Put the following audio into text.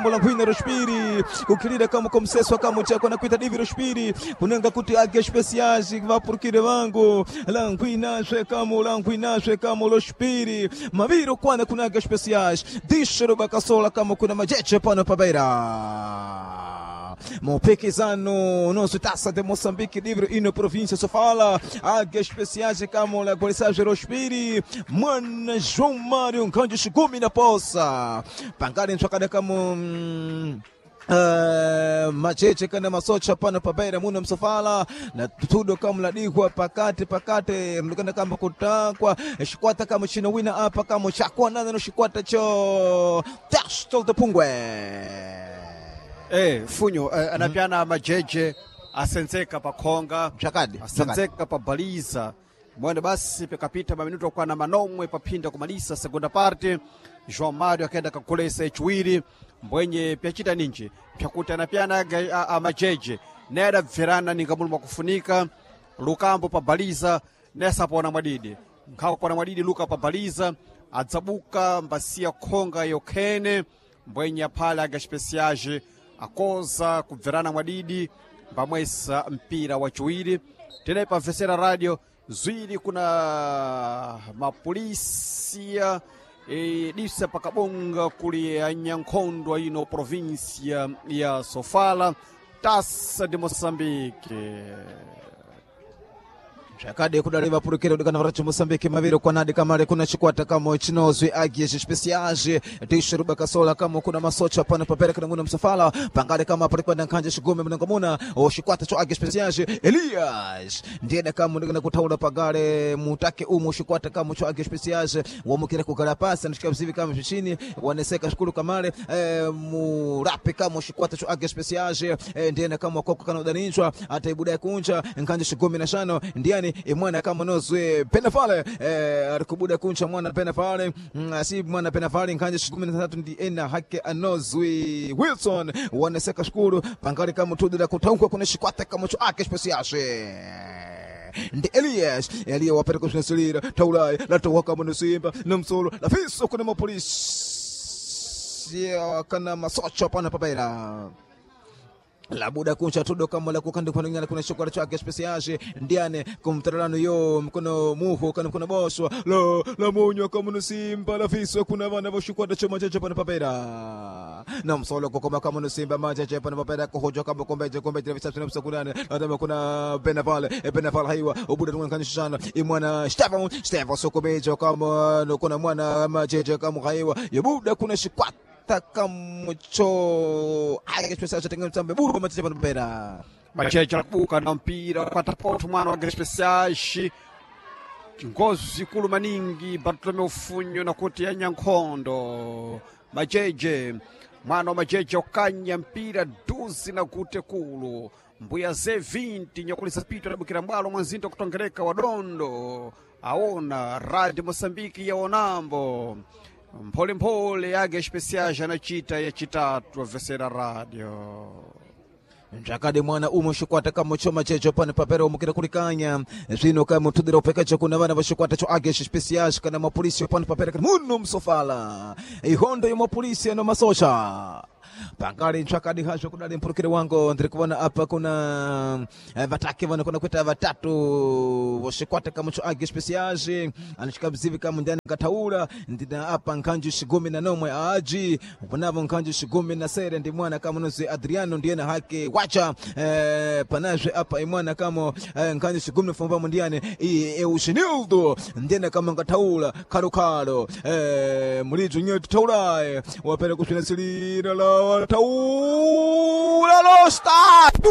Languina Rospiri kukilira kama komseswa kama chako na kuita divi Rospiri kunenga kuti age especiais vapurukire vangu Languina zwe kama Languina zwe kama Rospiri maviro kwana kuna age especiais dishero bakasola kama kuna majeche pano pabeira Mopekizano nosso Taça de Moçambique livre e na província Sofala águias especiais kama la Golisage Rospiri mwana João Mário Nkanjo Shigumi na poça pangale ntswakada kama macheche kana masocha pano pabeira muno msofala na tudo kama ladihwa pakate pakate mlukana kama kutakwa shikwata kama chino wina apa kama chakwa nana no shikwata cho Tastol de Pungwe. Funyo anapiana majeje asenzeka pakhonga. Chakadi. Asenzeka pabaliza mwene basi pikapita maminuto okwana manomwe paphinda kumalisa segunda parte. João Mário akaenda kakulesa echiwiri mbwenye pyachita ninji pyakuti anapiana amajeje naye adabverana ninga mulu mwakufunika lukambo pabaliza naye sapona mwadidi nkhakupona mwadidi luka pabaliza adzabuka mbasiya khonga yokhene mbwenye aphale aga especiais akoza kubverana mwadidi mbamwesa mpira wachiwiri. Tene pamvesera radio zwiri kuna mapolisia disa pakabonga kuli anyankhondo ino província ya Sofala, Taça de Moçambique. Zvakade kudari vapurukira kudikana varacho Moçambique maviri kwanadi kamare kuna chikwata kamo chinozwi agies especiais tishiruba kasola kamo kuna masocha pano papera kana muna msafala pangale kama palikwenda nkhanje shigume munanga muna o chikwata cho agies especiais Elias ndiyena kamo ndikana kutaula pagale mutake umu chikwata kamo cho agies especiais wamukira kugala pasi anashika mzivi kama zvishini waneseka shukuru kamale murape kamo chikwata cho agies especiais ndiyena kamo wakoko kana udaninjwa ataibuda kunja nkhanje shigumi na shano ndiani imwana kama nozwe penafale arikubuda kuncha mwana penafale si mwana penafale nkhanje shigumi na tatu ndi ena hake anozwe Wilson waneseka shukuru pangali kama tudira kutaukwa kuna shikwata kama cho ake especiais ndi Elias Eliya wapereka kusinsilira taulai latowa kama nusimba na msolo lafiso kuna mapolisi kana masocho pana papaira labuda kuncha tudo kama la kukandi kwa ngana kuna shokora chake especial ndiane kumtarano yo mkono muho kana mkono boswa la la munywa kama nusimba la fiswa kuna vana voshikwata choma cheche pana papera na msolo kokoma kama nusimba macheche pana papera kuhojwa kama kombeje kombeje visatu na msakunane atama kuna benavale benavale haiwa ubuda tunga kanishana imwana Stefan Stefan sokobejo kama kuna mwana macheche kama haiwa yobuda kuna shikwata kamucho ake buru macheche pana papera. Macheche akubuka na mpira kwata poto mwana wa especiais ngozi ikulu maningi Bartolomeu Funyo nakuti anyankhondo majeje mwana wa majeje okanya mpira duzi na gute kulu mbuya ze 20 nyakulisa pito adabukira mbwalo mwanzinto kutongereka wadondo aona Radio Moçambique yaonambo mpholemphole yake especiais anachita yachitatu avesera radio. Njakade mwana umo shikwata kamo choma checho pane papera umukira kulikanya zvino kamo tudira upekacho kuna vana va shikwata cho agesh especiais kana mapolisi pane papera kana muno msofala ihondo ya mapolisi ano masocha pangali ntsvakadi hazvo kudali mpurukire wangu ndiri kuona apa kuna vatake vanokona kuita vatatu voshikwata kamo cho age especiais anochika mzivi kamo ndiani ngataura ndina apa nkhanju shigumi na nomwe aji kunavo nkhanju shigumi na sere ndi mwana kamo nozi Adriano ndiyena hake wacha panazve apa imwana kamo nkhanju shigumi na fumbamo ndiyani Eugenildo ndiyena kamo ngataura kalo mulidzo nyetu tauraye wapera kusvinasilira la taura lo statu.